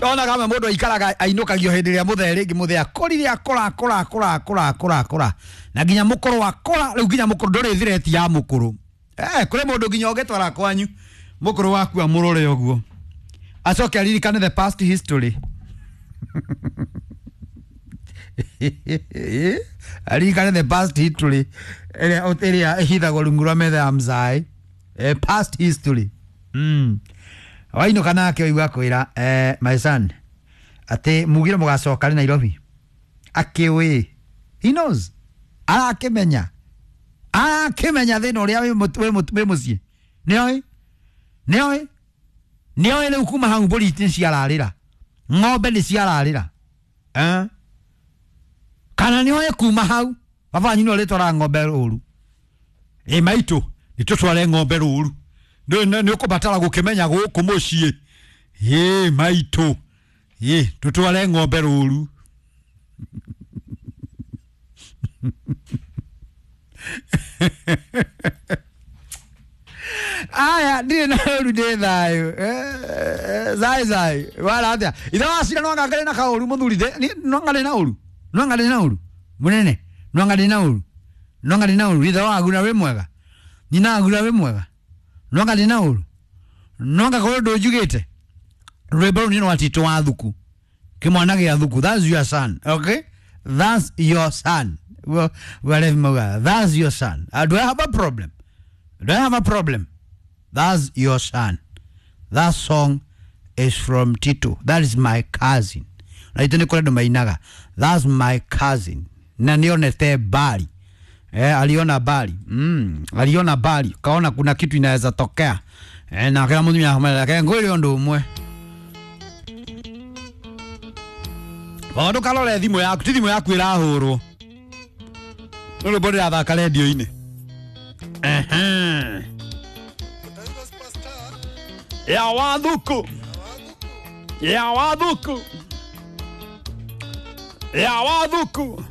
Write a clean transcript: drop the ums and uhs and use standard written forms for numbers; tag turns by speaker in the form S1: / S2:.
S1: Ona kama mũndũ aikaraga ainũkagio hĩndĩ ĩrĩa mũthee rĩngĩ mũthee akorire akora akora akora akora akora akora na nginya mũkũrũ akora rĩu nginya mũkũrũ ndũrĩ thireti ya mũkũrũ. Kũrĩ mũndũ nginya ũngĩtwara kwanyu mũkũrũ waku amũrore ũguo acoke aririkane the past history. Aririkane the past history ĩrĩa ĩhithagwo rungu rwa metha ya mzae. Past history. Wainũka nake ũigua kwĩra my son atĩ mugire mũgacoka rĩ Nairobi. Akĩũĩ, he knows, arakĩmenya arakĩmenya thĩna ũrĩa wĩ mũciĩ. Nĩoĩ nĩoĩ nĩoĩ rĩu kuma hau mbũri nĩ ciararĩra, ng'ombe nĩ ciararĩra, eh? Kana nĩoĩ kuma hau baba wanyu nĩwe ũrĩtwaraga ng'ombe rũru. Ĩ maitũ nĩtũtware ng'ombe rũru, nĩ ũkũbatara gũkĩmenya gũkũ mũciĩ. Ĩ maitũ ĩ tũtware ng'ombe rũru. Aya ndirĩ na ũru ndĩ thayũ. Zai zai wala atĩa ithe wacira no anga ngarĩ na kaũru mũthuri no ngarĩ na ũru, no ngarĩ na ũru mũnene, no ngarĩ na ũru, no ngarĩ na ũru ithe wagura wĩ mwega, nyina agura wĩ mwega, no ngarĩ na ũru, no ngakorwo ndũnjugĩte rwĩmbo rũu nĩ rwa Tito wa Thuku, kĩmwana gĩa Thuku. That's your son, okay, that's your son. Well, whatever mauga, that's your son. Do I have a problem? Do I have a problem? That's your son. That song is from Tito. That is my cousin. Na itũ nĩ kũrĩ andũ mainaga that's my cousin, na nĩonete mbari. Aliona mbari. Aliona mbari kaona kuna kitu inaweza tokea. Na kila mũtumia akamwĩra, "Reke ngwĩre ũndũ ũmwe." Ndũkarore thimũ yaku, ti thimũ yaku ĩrahũrwo, nĩ rwĩmbo ndĩrathaka rendio-inĩ. Ehe. Ya wathuku, ya wathuku, ya wathuku.